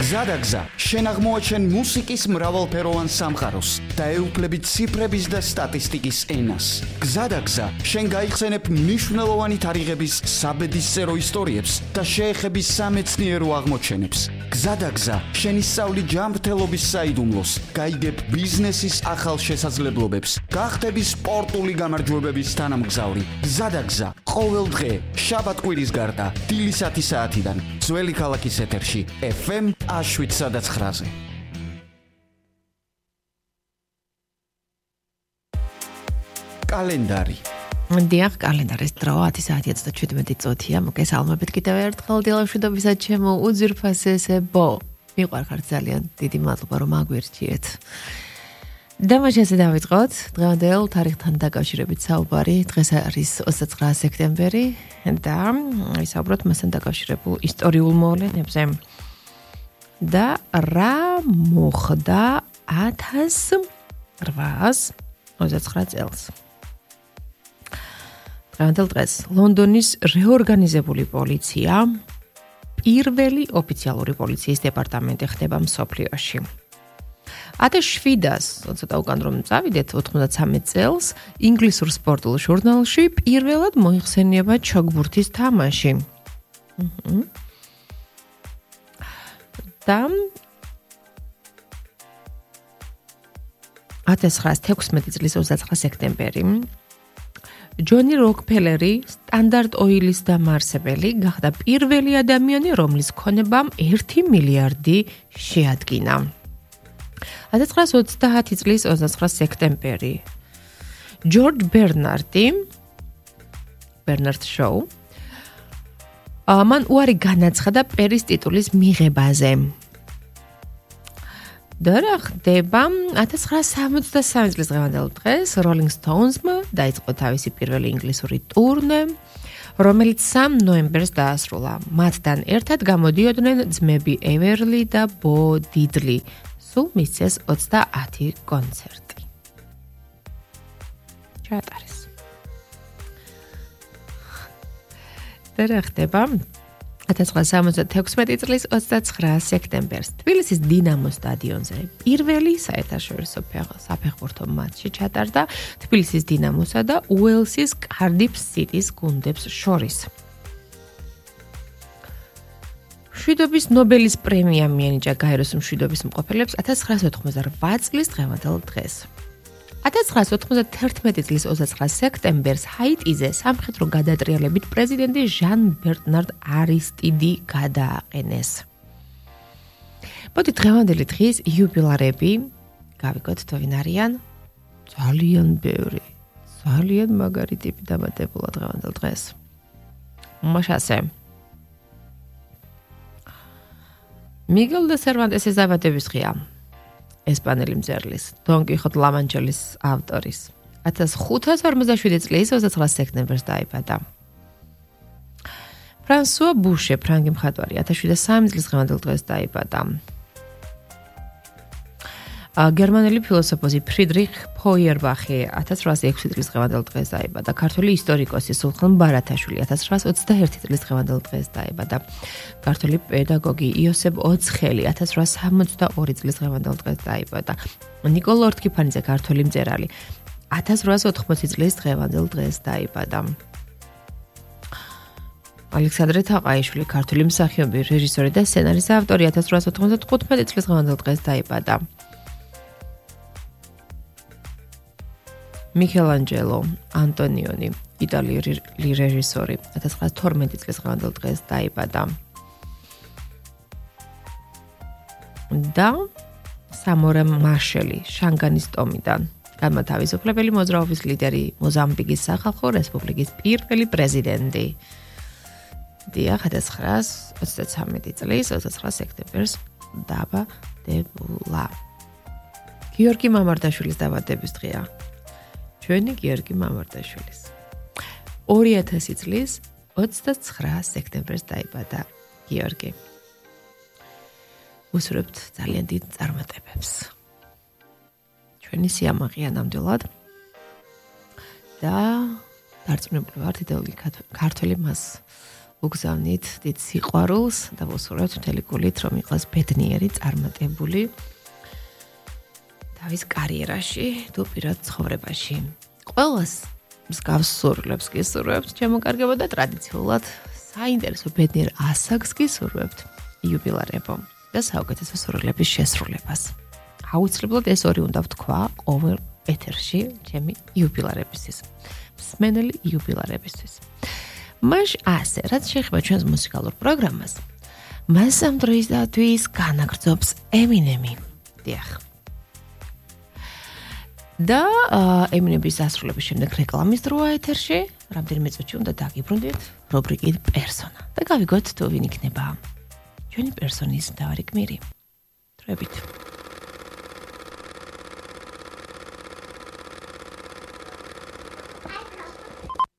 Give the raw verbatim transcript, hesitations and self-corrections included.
გზადაგზა, შენ აღმოაჩენ მუსიკის მრავალფეროვან სამყაროს და ეუფლებით ციფრების და სტატისტიკის ენას. გზადაგზა, შენ გაიხსენებ მნიშვნელოვანი თარიღების საბედისწერო ისტორიებს და შეეხები სამეცნიერო აღმოჩენებს. გზადაგზა, შენ ისწავლი ჯანმრთელობის საიდუმლოს, გაიგებ ბიზნესის ახალ შესაძლებლობებს, გახდები სპორტული გამარჯვებების თანამგზავრი. გზადაგზა, ყოველ დღე, შაბათ-კვირის გარდა, დილისათი საათიდან, ძველი ქალაქის ეთერში, ეფ ემ შვიდ სადაც ცხრაზე. კალენდარი. დიახ, კალენდარის დრო ათი საათი ოცდაშვიდმეტი წუთია. მოგესალმებით კიდევ ერთხელ დილამშვიდობისა ჩემო უძვირფასესებო. მიყვარხართ ძალიან, დიდი მადლობა რომ აგვირჩიეთ. და მაშინ დავიწყოთ დღევანდელ თარიღთან დაკავშირებით საუბარი. დღეს არის ოცდაცხრა სექტემბერი და ვისაუბროთ მასთან დაკავშირებულ ისტორიულ მოვლენებზე. და რა მოხდა ათას რვაას ოცდაცხრა წელს. დღევანდელ დღეს ლონდონის რეორგანიზებული პოლიცია პირველი ოფიციალური პოლიციის დეპარტამენტი ხდება მსოფლიოში. ათას შვიდას, ცოტა უკან რომ წავიდეთ, ოთხმოცდამეცი წელს ინგლისურ სპორტულ ჟურნალში პირველად მოიხსენიება ჩოგბურთის თამაში. აჰა. და ათას ცხრაას თექვსმეტი წლის ოცდაცხრა სექტემბერი ჯონი როკფელერი, სტანდარტ ოილის დამაარსებელი, გახდა პირველი ადამიანი, რომლის ქონებამ ერთი მილიარდი შეადგინა. ათას ცხრაას ოცდაათი წლის ოცდაცხრა სექტემბერი ჯორჯ ბერნარდი, ბერნარდ შოუ, მან უარი განაცხადა პერის ტიტულის მიღებაზე. და რა ხდება? ათას ცხრაას სამოცდასამი წლის დღევანდელ დღეს Rolling Stones-მა დაიწყო თავისი პირველი ინგლისური ტურნე, რომელიც სამ ნოემბერს დაასრულა. მათთან ერთად გამოდიოდნენ ძმები ევერლი და ბო დიდლი. სულ მისცეს ოცდაათი კონცერტი. ჩაატარეს. და რა ხდება? ათას ცხრაას სამოცდათექვსმეტი წლის ოცდაცხრა სექტემბერს თბილისის დინამოს სტადიონზე პირველი საერთაშორისო საფეხბურთო მატჩი ჩატარდა თბილისის დინამოსა და უელსის კარდიფ სიტის გუნდებს შორის. მშვიდობის ნობელის პრემია მიენიჭა გაეროს მშვიდობის მყოფელებს ათას ცხრაას ოთხმოცდარვა წლის დღევანდელ დღეს. ათას ცხრაას ოთხმოცდათერთმეტი წლის ოცდაცხრა სექტემბერს ჰაიტიზე სამხედრო გადატრიალებით პრეზიდენტი ჟან ბერნარდ არისტიდი გადააყენეს. მოდი დღევანდელი დღის იუბილარები გავიგოთ თუ ვინ არიან? ძალიან ბევრი, ძალიან მაგარი ტიპი დამატებულა დღევანდელ დღეს. მაშასე მიგელ დე სერვანტესის დაბადების დღეა. ესპანელი მწერლის, დონ კიხოტ ლა-მანჩელის ავტორის. ათას ხუთას ორმოცდაშვიდი წლის ოცდაცხრა სექტემბერს დაიბადა. ფრანსუა ბუშე, ფრანგი მხატვარი, ათას შვიდას სამი წლის დღევანდელ დღეს დაიბადა. გერმანელი ფილოსოფოსი ფრიდრიხ ფოიერბახი ათას რვაასი ექვსი წლის დღევანდელ დღეს დაიბადა. ქართველი ისტორიკოსი სულხან ბარათაშვილი ათას რვაასი ოცდაერთი წლის დღევანდელ დღეს დაიბადა. ქართველი პედაგოგი იოსებ ოცხელი ათას რვაასი სამოცდაორი წლის დღევანდელ დღეს დაიბადა. ნიკოლო ორთქიფანიძე ქართველი მწერალი ათას რვაასი ოთხმოცი წლის დღევანდელ დღეს დაიბადა. ალექსანდრე თაყაიშვილი ქართველი მსახიობი, რეჟისორი და სცენარის ავტორი ათას რვაასი ოთხმოცდათხუთმეტი წლის დღევანდელ დღეს დაიბადა. მიქელანჯელო ანტონიონი, იტალიური რეჟისორი, ათას ცხრაასი თორმეტი წლის დღევანდელ დღეს დაიბადა. და სამორე მაშელი, შანგანის ტომიდან, განმათავისუფლებელი მოძრაობის ლიდერი, მოზამბიკის სახალხო რესპუბლიკის პირველი პრეზიდენტი. დიახ, ათას ცხრაას ოცდაცამეტი წლის ოცდაცხრა სექტემბერს დაბადებულა. გიორგი მამარდაშვილის დაბადების დღეა. ჩვენი გიორგი მამარდაშვილის. ორი ათასი წლის ოცდაცხრა სექტემბერს დაიბადა გიორგი. უსურვებთ ძალიან დიდ წარმატებებს. ჩვენი სიამაყეა ნამდვილად. და დარწმუნებული ვართ, იდეოლოგიური ქართველი მას უგზავნით დიდ სიყვარულს და ვუსურვებთ მთელი გულით, რომ იყოს ბედნიერი, წარმატებული თავის კარიერაში, თუ პირად ცხოვრებაში. ყველას მსგავს სურვილებს გისურვებთ, ჩემო კარგებო და ტრადიციულად საინტერესო ბედნიერ ასაკს გისურვებთ იუბილარებო და საუკეთესო სურვილების შესრულებას. აუცილებლად ეს ორი უნდა ვთქვა ყოველ ეთერში ჩემი იუბილარებისთვის. მსმენელი იუბილარებისთვის. მაშ ასე, რაც შეეხება ჩვენს მუსიკალურ პროგრამას, მას ამ დროისათვის განაგრძობს ემინემი. დიახ. და ემინემის დასრულების შემდეგ რეკლამის დროა ეთერში, რამდენიმე წუთში უნდა დაგიბრუნდეთ რუბრიკით პერსონა და გავიგოთ თუ ვინ იქნება ჩვენი პერსონის მთავარი გმირი. დროებით.